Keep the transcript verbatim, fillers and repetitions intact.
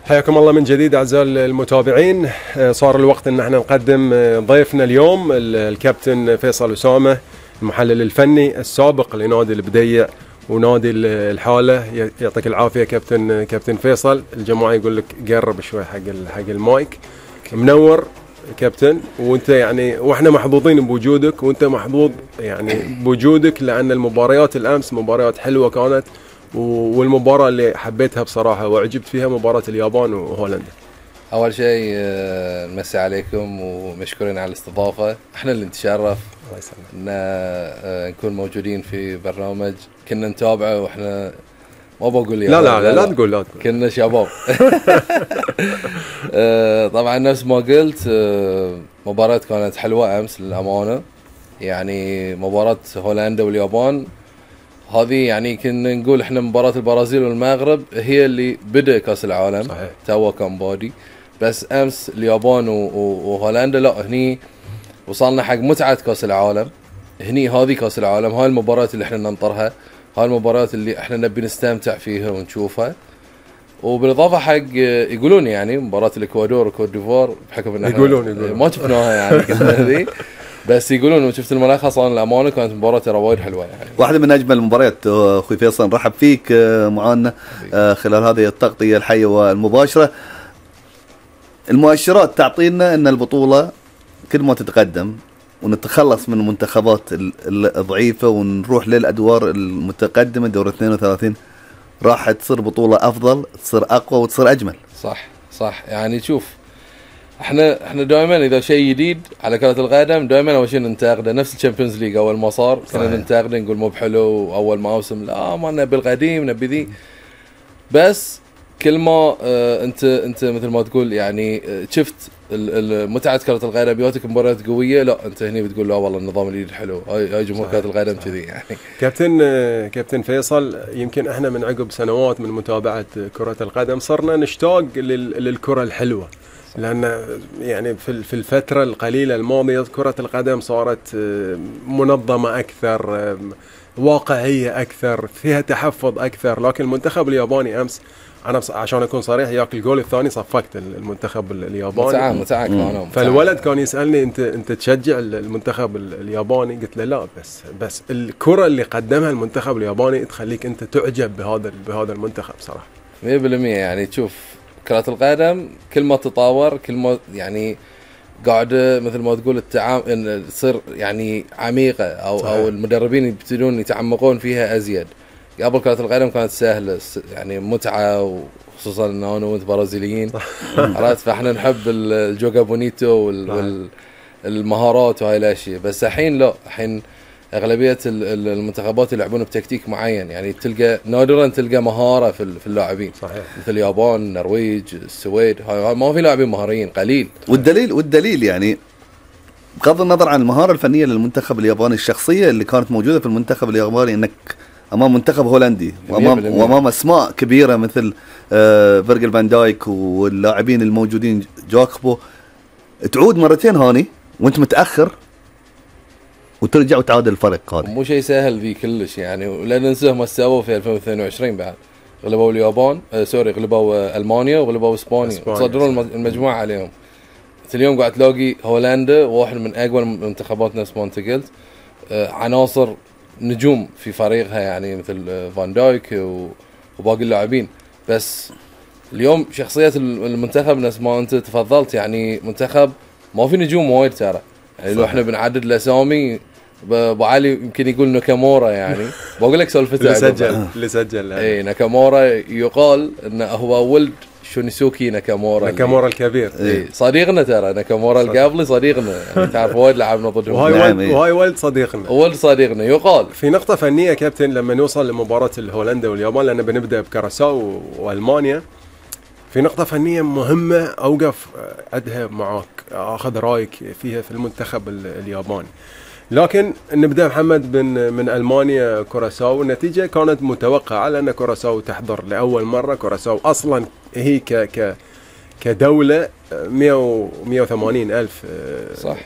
حياكم الله من جديد أعزائي المتابعين. صار الوقت أن احنا نقدم ضيفنا اليوم الكابتن فيصل أسامة، المحلل الفني السابق لنادي البديع ونادي الحالة. يعطيك العافية كابتن كابتن فيصل. الجماعة يقول لك قرب شوي حق حق المايك. منور كابتن، وانت يعني واحنا محظوظين بوجودك، وانت محظوظ يعني بوجودك، لأن المباريات الأمس مباريات حلوة كانت، والمباراة اللي حبيتها بصراحة وعجبت فيها مباراة اليابان وهولندا. أول شيء نمسي عليكم ومشكورين على الاستضافة. احنا اللي نتشرف ان نكون موجودين في برنامج كنا نتابعه، واحنا ما بقول لا لا لا, لا, لا تقول لا تقول كنا شباب. طبعا نفس ما قلت، مباراة كانت حلوة أمس للأمانة. يعني مباراة هولندا واليابان هذه يعني كنا نقول احنا مباراة البرازيل والمغرب هي اللي بدأ كأس العالم. صحيح. توا كان بادي، بس أمس اليابان وهولندا لا، هني وصلنا حق متعة كأس العالم. هني هذه كأس العالم، هاي المباراة اللي احنا ننطرها، هاي المباراة اللي احنا نبي نستمتع فيها ونشوفها. وبالإضافة حق يقولون يعني مباراة الإكوادور وكوت ديفوار، بحكم ان يقولون يقولون ما شفناها يعني كنا هذه، بس يقولون وشفت الملخص. أنا الأمانة كانت مباراة ترى وايد حلوة يعني، واحدة من أجمل المباريات. أخوي فيصل نرحب فيك معنا خلال هذه التغطية الحية والمباشرة. المؤشرات تعطينا أن البطولة كل ما تتقدم ونتخلص من المنتخبات الضعيفة ونروح للأدوار المتقدمة، دور اثنين وثلاثين، راح تصير بطولة أفضل، تصير أقوى وتصير أجمل. صح صح. يعني شوف، احنا احنا دائما اذا شيء جديد على كرة القدم دائما اول شيء ننتقده. نفس الشامبيونز ليج اول ما صار كنا ننتقده، نقول مو بحلو اول موسم، لا ما نبي القديم نبي ذي. بس كل ما اه انت انت مثل ما تقول يعني اه شفت متعة كرة القدم، بيوتك مباريات قوية، لا انت هني بتقول لا والله النظام الجديد حلو. هاي هاي جمهور كرة القدم كذي يعني. كابتن كابتن فيصل، يمكن احنا من عقب سنوات من متابعة كرة القدم صرنا نشتاق للكرة الحلوة، لأن يعني في في الفترة القليلة الماضية كرة القدم صارت منظمة أكثر، واقعية أكثر، فيها تحفظ أكثر. لكن المنتخب الياباني أمس، أنا عشان أكون صريح، ياك الجول الثاني صفقت المنتخب الياباني. متعاون متعاون. فالولد كان يسألني أنت أنت تشجع المنتخب الياباني؟ قلت له لا، بس بس الكرة اللي قدمها المنتخب الياباني تخليك أنت تعجب بهذا بهذا المنتخب صراحة. مية بالمية. يعني تشوف كرة القدم كل ما تطور كل ما يعني قاعدة مثل ما تقول التعامل تصير يعني عميقة، أو صحيح. أو المدربين يبتدون يتعمقون فيها أزيد. قبل كرة القدم كانت سهلة يعني متعة، وخصوصا إنه أنا وأنت برازيليين عرفت، فإحنا نحب الجوجا بونيتو والمهارات وهاي الأشياء. بس الحين لا، الحين أغلبية المنتخبات يلعبون بتكتيك معين. يعني تلقى نادرا تلقى مهارة في اللاعبين. صحيح. مثل اليابان، النرويج، السويد، هاي ما في لاعبين مهاريين قليل. والدليل والدليل يعني بغض النظر عن المهارة الفنية للمنتخب الياباني، الشخصية اللي كانت موجودة في المنتخب الياباني، انك امام منتخب هولندي وامام وامام اسماء كبيرة مثل آه فيرجل فان دايك واللاعبين الموجودين جاكبو، تعود مرتين هاني وانت متأخر وترجع وتعادل الفرق. هذا مو شيء سهل ذي كلش يعني. ولا ننسى ما سووا في ألفين واثنين وعشرين بعد، غلبوا اليابان آه سوري غلبوا آه المانيا وغلبوا اسبانيا وصدروا المجموعه عليهم. اليوم قاعد تلاقي هولندا واحد من اقوى المنتخبات نفس ما انت قلت، آه عناصر نجوم في فريقها يعني مثل آه فان دايك وباقي اللاعبين. بس اليوم شخصيه المنتخب نفس ما انت تفضلت، يعني منتخب ما في نجوم وايد ترى. يعني لو احنا بنعدد الاسامي، ابو علي يمكن يقول ناكامورا، يعني بقول لك سالفته اللي سجل اللي سجل اي ناكامورا، يقال انه هو ولد شونيسوكي ناكامورا ناكامورا الكبير. اي صديقنا ترى، ناكامورا القبلي صديقنا يعني، تعرف وايد لعبنا ضدهم. وهاي ولد وهاي ولد صديقنا ولد صديقنا. يقال في نقطة فنية كابتن لما نوصل لمباراة الهولندا واليابان، لأن بنبدأ بكراساو وألمانيا، في نقطة فنية مهمة أوقف عدها معاك، أخذ رأيك فيها في المنتخب الياباني. لكن نبدأ محمد من من ألمانيا كوراساو. النتيجة كانت متوقعة، لأن كوراساو تحضر لأول مرة. كوراساو أصلا هي ك ك كدولة مئة وثمانين ألف صح